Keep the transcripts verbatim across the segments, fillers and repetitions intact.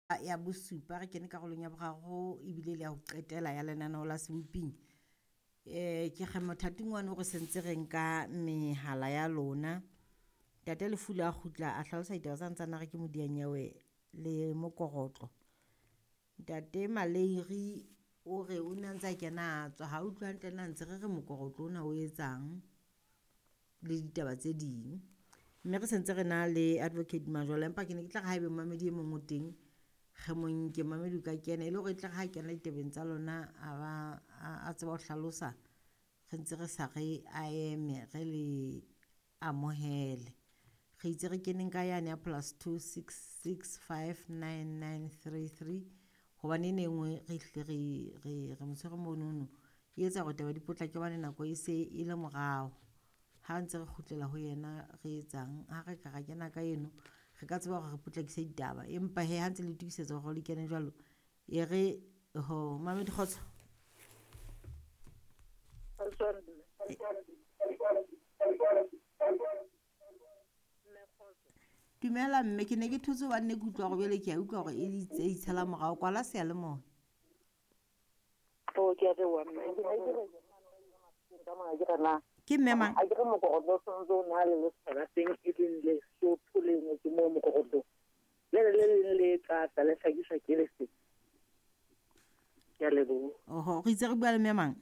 Ya bosupa re kene karolong ya boraro ebile le ya ho qetela ya lenaneo la Seboping. Eh ke kge mothating wa no re sentse re nka mehala ya lona. Ntate Lefula a kgutla a hlalosa ditaba tsa ntsana re ke modianyewe le mokorotlo. Ntate Maleiri o re o ne a ntse a kena a tswa ha utlwe hantle na ntse re re mokorotlo ona o etsang le ditaba tse ding. Mme re sentse re na le Advocate Majola, empa ke ne ke tla re haebe momamedi e mong o teng re mo nke momamedi o ka kena e le hore e tle re ha kena ditabeng tsa lona a ba a tseba ho hlalosa re ntse re sa re a eme re le amohele. Re itse re keneng ka yane ya plus two six six five nine nine three three hobane ene e nngwe re hlile re re re mo tshwere monono e etsa hore taba di potlake hobane nako e se e le morao. Ha ntse re kgutlela ho yena re etsang ha re ka ra kena ka eno re ka tseba hore re potlakise ditaba empa hee ha ntse le itokisetsa hore le kene jwalo e re ho mamedi kgotso. Dumela mme ke ne ke thotse hobane ne ke utlwa hore jwale ke a utlwa hore e itse e itshela morao kwala seyalemoya. Oh, ke a leboha mme. Ke ne ke re ka mona ke re na Ke mme mang? a ke re mokorotlo o santse o na le letshwao la teng e leng Lesotho le ngotswe moo mokorotlong. Le le leng le tlatla le hlakiswa ke lefe. Ke a leboha. Oho, re itse re bua le mme mang?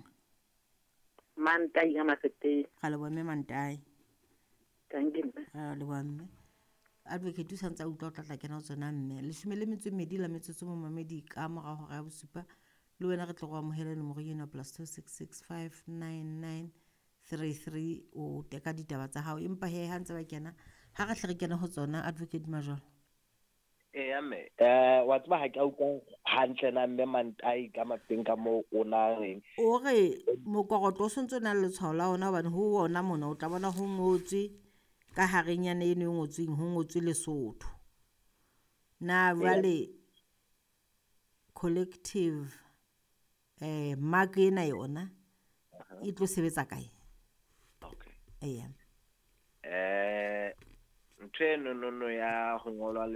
Mantai ka Mafeteng. Ra leboha mme Mantai. Dankie mme. Ra leboha mme. Advocate o santse a utlwa o tla tla kena ho tsona mme. Leshome le metso e mmedi la metsotso momamedi ka mora hora ya bosupa. Le wena re tlo go amohela nomoro eno plus two six six five nine nine three three o teka ditaba tsa hao. Empa he ha ntse ba kena ha re hle re kene ho tsona Advocate Majola. Eya mme eh wa tseba ha ke a utlwa hantle na mme Mantai ka mafeng ka moo o na reng. O re mokorotlo o sontso o na le letshwao la ona hobane ho ona mona o tla bona ho ngotswe ka harenyana eno e ngotsweng ho ngotswe Lesotho. Na jwale collective eh mark ena yona e tlo sebetsa kae? Okay. Eya. Eh ntho eno no no ya ho ngolwa